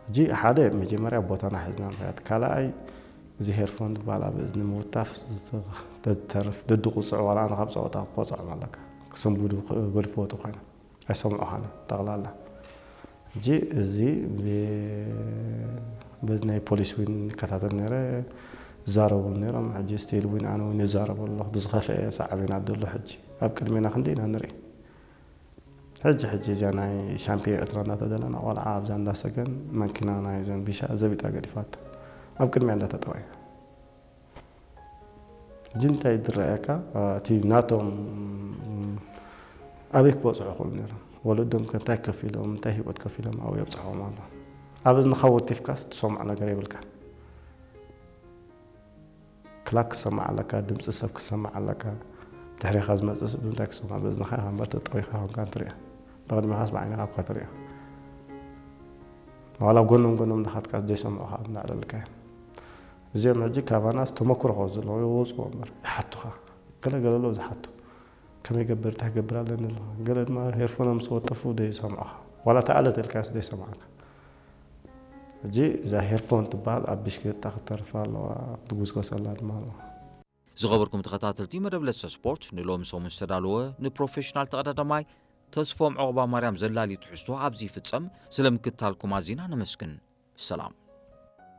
ሕጂ ሓደ መጀመርያ ቦታና ሒዝና ምኽያድ፣ ካልኣይ እዚ ሄርፎን ዝበሃል ኣብ እዝኒ ምውታፍ ዝተርፍ ደድቁፅዕ ዋላ ኣነ ካብ ፀወታ ክትቆፅዖም ኣለካ። ክስንቡዱ ክገድፍዎ ተኮይኖም ኣይሰምዑኻን ጠቕላላ። ሕጂ እዚ ብ- በዚ ናይ ፖሊስ እውን ይከታተል ነይረ፣ ይዛረቡሉ ነይሮም። ሕጂ ስቲል እውን ኣነ እውን ይዛረቡ ኣለኹ። ዝኸፍአ ሳዕቤናት ዘሎ ሕጂ ኣብ ቅድሜና ክንደይ ኢና ንርኢ። ሕጂ ሕጂ እዚኣ ናይ ሻምፒዮን ኤርትራ እናተደለና ቆልዓ ኣብዛ እንዳሰገን መኪና ናይ ዘንቢሻ ዘቢጣ ገዲፋቶ ኣብ ቅድሚያ እንዳተጠወየ። ሕጂ እንታይ ዝረኣየካ እቲ ናቶም ኣበይ ክበፅሑ ክእሉ ነይሮም? ወለዶም ከ እንታይ ከፊሎም እንታይ ህይወት ከፊሎም ኣብኡ የብፅሖም ኣሎ? ኣብ እዝንኻ ወቲፍካስ ትሰምዖ ነገር የብልካ። ክላክ ክሰማዕ ኣለካ፣ ድምፂ ሰብ ክሰማዕ ኣለካ። ድሕሪኻ ዝመፅእ ሰብ እንታይ ክሰማዕ? በዝንኻ ኢኻ እምበር ተጠዊኻ ኮንካ ትሪኦ። ብቕድሚኻስ ብዓይንኻ እኳ ትሪኦ። ዋላ ጎኖም ጎኖም እናኻትካስ ዘይሰምዑኻ እናዕለልካ እዮም። እዚኦም ሕጂ ካባናስ ተመክሮ ከ ዘለዎ ይወፅዎ እምበር ይሓቱኻ። ገለ ገለ ኣለዉ ዝሓቱ። ከመይ ገብር እንታይ ገብር ኣለኒ ኣለኻ። ገለ ድማ ሄርፎኖም ምስ ወጠፉ ዘይሰምዑኻ። ዋላ ተኣለ ተልካስ ዘይሰምዓካ። ሕጂ እዛ ሄርፎን ትበሃል ኣብ ብሽክለታ ክተርፍ ኣለዋ፣ ክትጉስጎሰላ ድማ ኣለዋ። ዝኸበርኩም ተኸታተልቲ መደብ ለሰ ስፖርት፣ ንሎሚ ሰሙን ዝተዳለወ ንፕሮፌሽናል ተቐዳዳማይ ተስፎም ዑቕባ ማርያም ዘላሊ ትሕዝቶ ኣብዚ ይፍጸም። ስለ ምክትታልኩም ኣዚና ነመስግን። ሰላም።